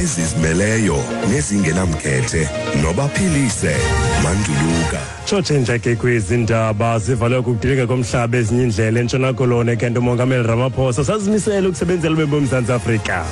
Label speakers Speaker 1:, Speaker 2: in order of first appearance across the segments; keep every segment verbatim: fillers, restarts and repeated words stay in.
Speaker 1: Ezizimeleyo nezingenamkhethe nobaphilise Manduluka.
Speaker 2: Tshotshe ke kwezi ndaba zivalwe kukudilika komhlaba ezinye iindlela eNtshona Koloni, kanti uMongameli Ramaphosa sazimisele ukusebenzela ube boMzantsi Afrika.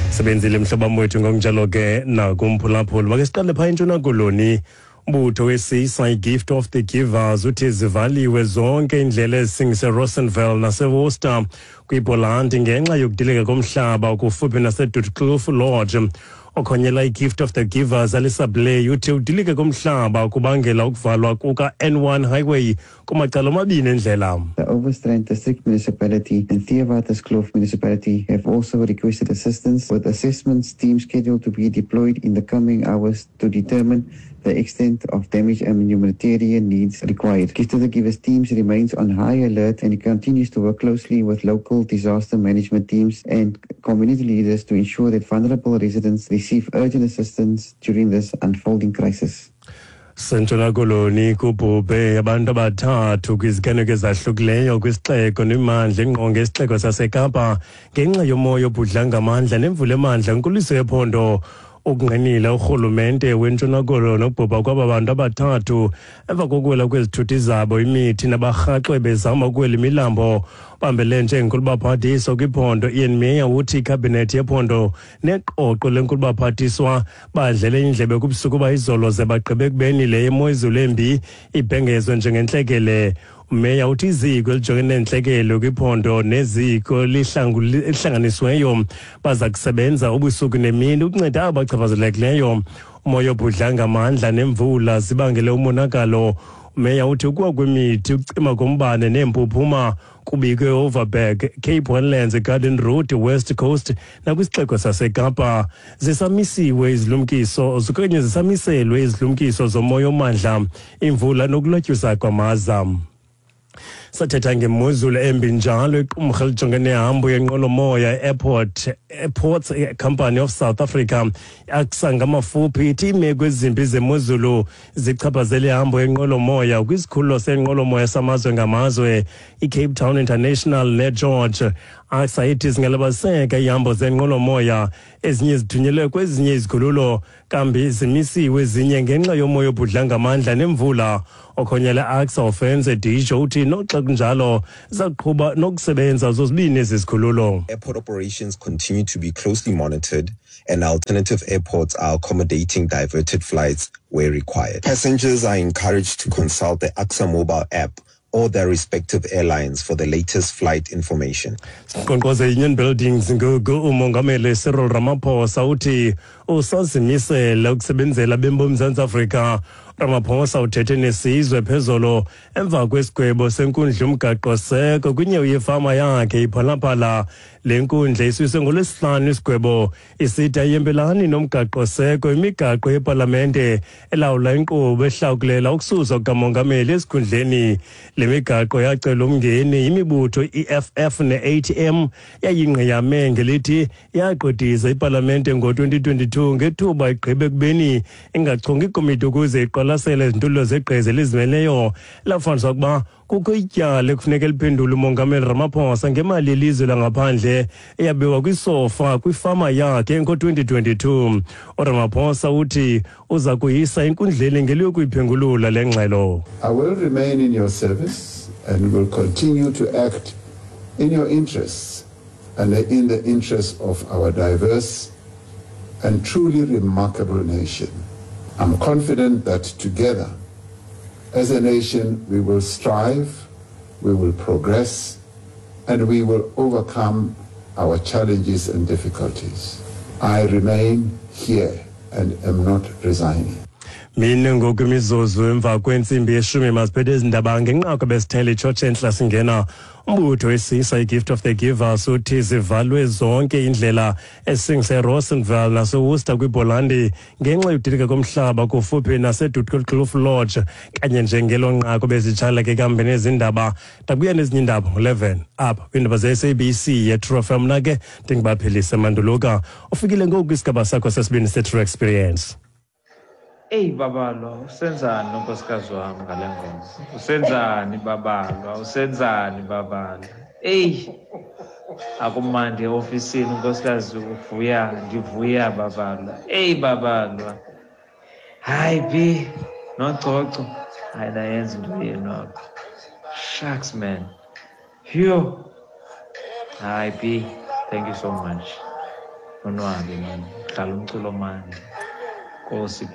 Speaker 2: Sebenzile mhlobo wethu, ngokunjalo ke nakumphulaphuli. Make siqale phaa eNtshona Koloni. Umbutho we-S I Gift of the Givers uthi zivaliwe zonke iindlela ezisingise Rawsonville naseWorcester kwiBholandi ngenxa yokudilika komhlaba kufuphi naseDuykloof Lodge. Okhonyela i-Gift of the Givers, Alisa Blay, uthi udilike komhlaba kubangela ukuvalwa kuka-N one highway kumacala omabini endlela.
Speaker 3: The Overstrand District Municipality and Theewaterskloof Municipality have also requested assistance, with assessments teams scheduled to be deployed in the coming hours to determine the extent of damage and humanitarian needs required. Gift of the Givers teams remains on high alert and continues to work closely with local disaster management teams and community leaders to ensure that vulnerable residents receive urgent assistance during this unfolding crisis.
Speaker 2: SeNtshona Koloni, kubhubhe abantu abathathu kwiziganeko ezahlukileyo kwisixeko nemimandla engqonge isixeko saseKapa ngenxa yomoya obhudla ngamandla nemvula emandla nkuliso yephondo. Ukungqinile urhulumente weNtshona Koloni ukubhubha kwaba bantu abathathu emva kokuwela kwezithuthi zabo imithi nabarhaxwe bezama ukuwela imilambo. Bambele njengenkulubaphathiswa kwiphondo Ian Meyer uthi ikhabhinethi yephondo neqoqo lenkulubaphathiswa badlele indlebe kubusuku bayizolo ze bagqibe ekubeni le yemozulu embi ibhengezwe njengentlekele. Umeya uthi iziko elijongene neentlekele kwiphondo neziko elihlanganisiweyo baza kusebenza ubusuku nemini ukunceda abo bachaphazelekileyo. Umoya obhudla ngamandla nemvula zibangele umonakalo. Umeya uthi ukuwa kwemithi, ukucima kombane neempuphuma kubikwe Overberg, Cape Winelands, Garden Route, West Coast nakwisixeko saseKapa. Zisamisiwe izilumkiso okanye zisamiselwe izilumkiso zomoya omandla, imvula nokulotyusa kwamaza. Sathetha ngemozulu embi njalo, iqumrhu elijongene nehambo yenqwelomoya Airport Airports Company of South Africa, A C S A ngamafuphi, ithi iimeko ezimbi zemozulu zichaphazele ihambo yenqwelomoya kwisikhululo senqwelomoya samazwe ngamazwe iCape Town International neGeorge. A C S A ithi zingalibaziseka iihambo zenqwelomoya, ezinye zithunyelwe kwezinye izikhululo, kambi zimisiwe ezinye ngenxa yomoya obhudla ngamandla nemvula. Okhonyela A C S A Ofentse Dijo uthi noxa kunjalo zaqhuba nokusebenza zozibini ezi zikhululo.
Speaker 4: Airport operations continue to be closely monitored and alternative airports are accommodating diverted flights where required. Passengers are encouraged to consult the A C S A mobile app or their respective airlines for the latest flight information.
Speaker 2: Siqonqoze Union Buildings ngoku. Umongameli Cyril Ramaphosa uthi usazimisele ukusebenzela abemi boMzantsi Afrika. Ramaphosa uthethe nesizwe phezolo emva kwesigwebo senkundla yomgaqo-seko kwinyewe yefama yakhe iPhalaphala. Le nkundla isuse ngoLwesihlanu isigwebo isithi ayihambelani nomgaqo-seko imigaqo yepalamente elawula inkqubo ehlakulela ukususwa kukamongameli esikhundleni. Le migaqo yacela umngeni yimibutho i-E F F ne-A T M, yayingqiyame ngelithi yaqodisa ipalamente ngo-twenty twenty-two ngethuba igqibe ekubeni ingachongi ikomiti ukuze iqwalasele izindululo zegqiza elizimeleyo. Lafumanisa ukuba kukho ityala ekufuneka liphendule umongameli Ramaphosa ngemali yelizwe langaphandle eyabiwa kwisofa kwifama yakhe ngo-twenty twenty-two. URamaphosa uthi uza kuyisa enkundleni ngeliyokuyiphengulula le ngxelo.
Speaker 5: I will remain in your service and will continue to act in your interests and in the interests of our diverse and truly remarkable nation. I'm confident that together, as a nation, we will strive, we will progress, and we will overcome our challenges and difficulties. I remain here and am not resigning.
Speaker 2: Mine ngoku imizuzu emva kwentsimbi yeshumi, masiphethe ezi ndaba ngenqaku besithele itshotshe entla singena. Umbutho wesisa iGift of the Givers uthi zivalwe zonke iindlela ezisingise eRawsonville naseWorcester kwiBholandi ngenxa yodilika komhlaba kufuphi naseDuykloof Lodge. Kanye njengelo nqaku bezitshala ke kambe nezindaba, ndabuya nezinye iindaba ngo-eleven apha kwiindaba ze-S A B C yeTrue F M. Mna ke ndingubaphilise Manduluka. Ufikile ngoku kwisigaba sakho sesibini seTrue Experience.
Speaker 6: Eyi babalwa, usenzani unkosikazi wami ngale ngoma? Usenzani babalwa? Usenzani babalwa? Eyi, Akumandi eofisini, unkosikazi uvuya, ndivuya Babalwa. Eyi Babalwa, hayi B noCoco, hayi nayenza into yenu apha. Shucks man, yho. Hayi B, thank you so much. Nonwabe man, dlala umculo omandi. Nkosi B.